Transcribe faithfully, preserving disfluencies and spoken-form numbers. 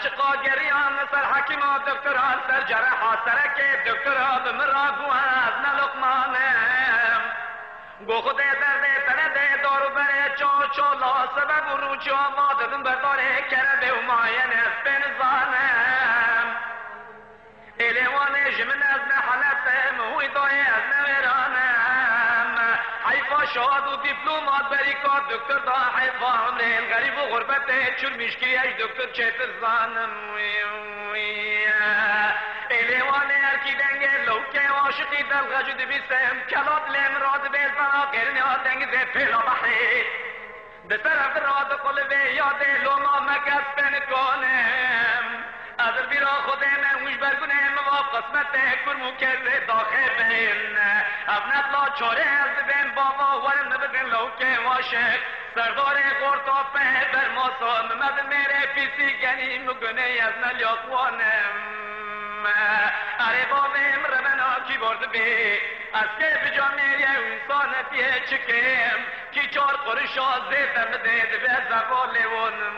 Çiqa geriyan ser hekîma doktora, ser cereha serekê doktora, bi min re got ez ne Luqman im. Got Xwedê derdê te nede, dar û berê ço çola, sebeb û rûçê ava didin berdarê kerebê û mayên, ez pê nizanim. Êlê Wanê ji min ez ne Helep im, Hûydoyê ez ne Wêran im. Heyfa şad û dîplomat berî ka doktor da, heyfa emrê li xerîb û xurbetê çûr mîşkiriye ji doktor çêtir zanim. Wî, wî. Êlê Wanê erkî dengê lewkê aşiqî delxe ji dibîsim, kela dilê min radibê li bera qêrinê a dengizê pêla behrê. Di ser ev ra diqulibê yadê loma me kes pê nikonim. Ez li bîra Xwedê me û ji ber gunê min va qismetê kurm û kêzê daxê bin. Ev nebla çorê ez dibêm bava werin min bidin lewkê waşik. Serdarê xorta pê bermasa min me bi mêrê pîsî genî min gunê ez ne liyaqwanim. Erê bavê min revena kî bor dibê. Ez kê bi camêriyê û însanetiyê çi kêm? Kî çar qurişa zêde min dê dibe zeva lêwonim.